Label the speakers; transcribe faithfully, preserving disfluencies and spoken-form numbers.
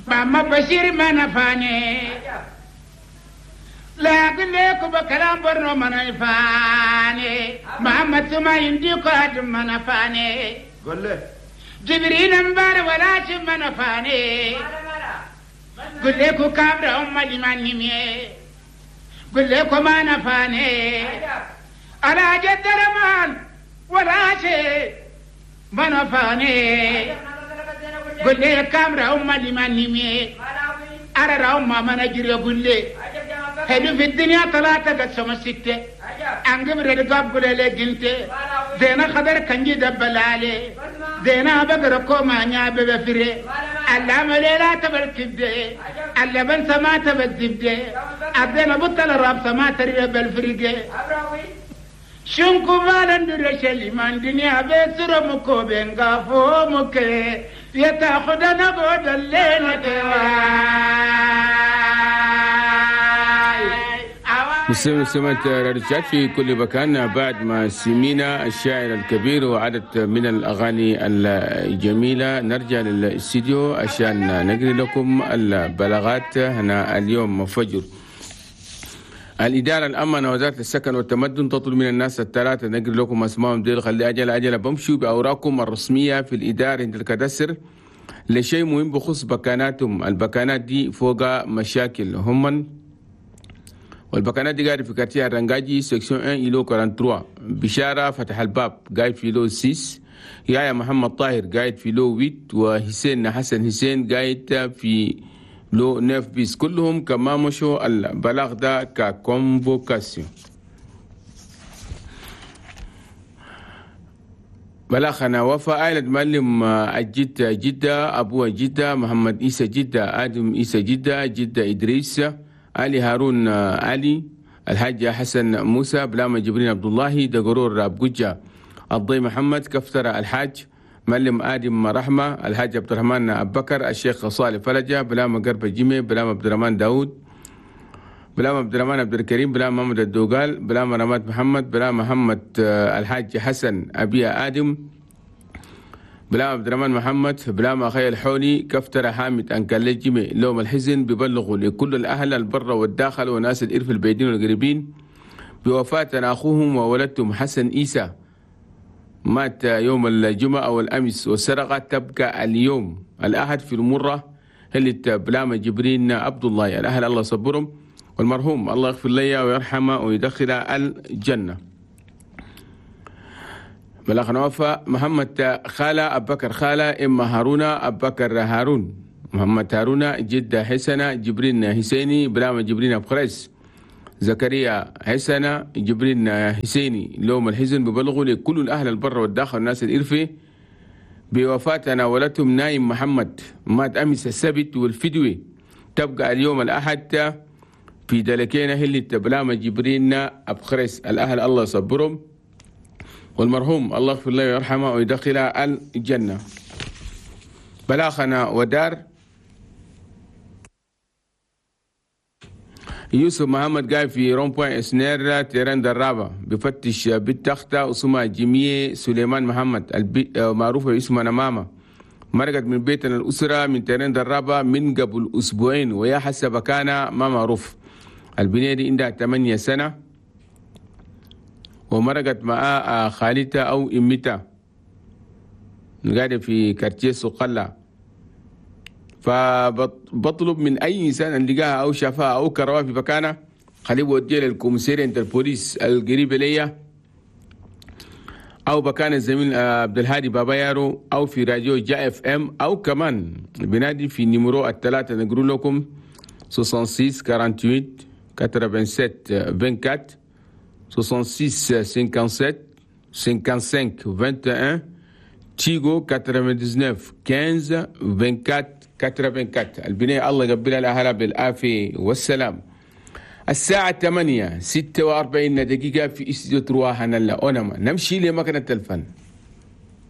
Speaker 1: محمد بشير ما نفاني لا أقول لكم بكلام برنو ما نفاني محمد ثم ينديك آدم ما نفاني
Speaker 2: قول له
Speaker 1: جبريل مبار ولا شم ما نفاني قل لكم كابر أم لمن نمي قل لكم ما نفاني على جد رمان ولا شيء ما نفاني قل لي كامرا أم لمن نمي أرى أم ما نجري قل لي حلو في الدنيا طلعت قسم الستة أنقم رقاب قل لي قلت زينا خضر كنجي دبلالي زينا بقر كوما نياب بفري اللام ليلة تبركبدي اللبن سما تبدبدي أدينا بطل الراب سما تريب الفرقة شنكو مالن درشلي من دنيا بسر مكو بنغافو مكي يتاخدنا بود الليلة.
Speaker 3: مستمعي سمعت راديو في كل مكان بعد ما سمينا الشاعر الكبير وعدد من الأغاني الجميلة، نرجع للاستديو عشان نقري لكم البلاغات هنا اليوم فجر. الإدارة الأمنة وزارة السكن والتمدن تطلب من الناس الثلاثة، نقري لكم أسمائهم ديل، خلي أجل أجل بمشوا بأوراقكم الرسمية في الإدارة عند الكدسر لشيء مهم بخصوص بكاناتهم. البكانات دي فوق مشاكل هم، والبكانات دي قاعدة في quartier الرنجاجي section واحد îlot ثلاثة وأربعين، بشارة فتح الباب قاعد في lot ستة، يا محمد طاهر قاعد في lot ثمانية، وحسين حسن حسين قاعد في lot تسعة bis. كلهم كما مشوا البلاغ ده ك convocation. بلاغنا وفاء عائلة معلم الجدة جدة، أبوه جدة، محمد إيسى جدة، آدم إيسى جدة، جدة إدريس، علي هارون علي، الحاج حسن موسى، بلاما جبرين عبد الله، دقرور أبجوجة، الضي محمد، كفترة الحاج، معلم آدم رحمة، الحاج عبد الرحمن أبو بكر، الشيخ صالح فلجة، بلاما قرب جيمي، بلاما عبد الرحمن داود، بلاما عبد الرحمن عبد الكريم، بلاما محمد الدوغال، بلاما رماد محمد، بلاما محمد الحاج حسن أبي آدم، بلاما عبد الرحمن محمد، بلاما أخي الحولي، كفترة حامد أنكال جيمي. لوم الحزن ببلغوا لكل الأهل البر والداخل وناس الإرف البعيدين والقريبين بوفاة أخوهم وولدتهم حسن إيسى، مات يوم الجمعة أو الأمس، والسرقة تبقى اليوم الأحد في المرة اللي بلاما جبرين عبد الله. الأهل الله صبرهم، والمرحوم الله يغفر لي ويرحمه ويدخل الجنة. بلغنا وفاء محمد خالة أبو بكر خالة، إما هارون أبو بكر هارون، محمد هارون، جدة حسنة، جبرين حسيني، بلاما جبرين أبو خريس، زكريا حسنة، جبرين حسيني. لوم الحزن ببلغوا لكل الأهل البر والداخل والناس الإرفي بوفاة ولدتهم نايم محمد، مات أمس السبت، والفدوي تبقى اليوم الأحد في دلكينا هلي بلاما جبرين أبو خريس. الأهل الله يصبرهم، والمرحوم الله يغفر له ويرحمه ويدخله الجنة. بلاغنا ودار يوسف محمد قاعد في rond-point اسنير terrain درابة، بفتش بالتختة اسمها جميع سليمان محمد معروفة باسمها ماما، مرقت من بيتنا الأسرة من terrain درابة من قبل أسبوعين، ويا حسب كان ما معروف. البنية دي عندها ثمانية سنة، ومرقت مع خالتها أو إمتها، قاعدة في quartier سقلة. فبطلب من أي إنسان أن لقاها أو شافها أو كرواها في مكانها خليه يوديها لل commissariat عند البوليس القريب ليا، أو بكان الزميل عبد الهادي بابا يارو، أو في راديو جا اف ام، أو كمان بنادي في numéro الثلاثة نقول لكم ستة وستين ثمانية وأربعين سبعة وثمانين أربعة وعشرين، ستة وستين سبعة وخمسين خمسة وخمسين واحد وعشرين، تيغو تسعة وتسعين خمسة عشر أربعة وعشرين أربعة وثمانين. البناية الله يقبلها لأهلها بالعافية والسلام. الساعة ثمانية ستة وأربعين دقيقة في استوديو ترواها نلا أونما. نمشي لمكنة الفن.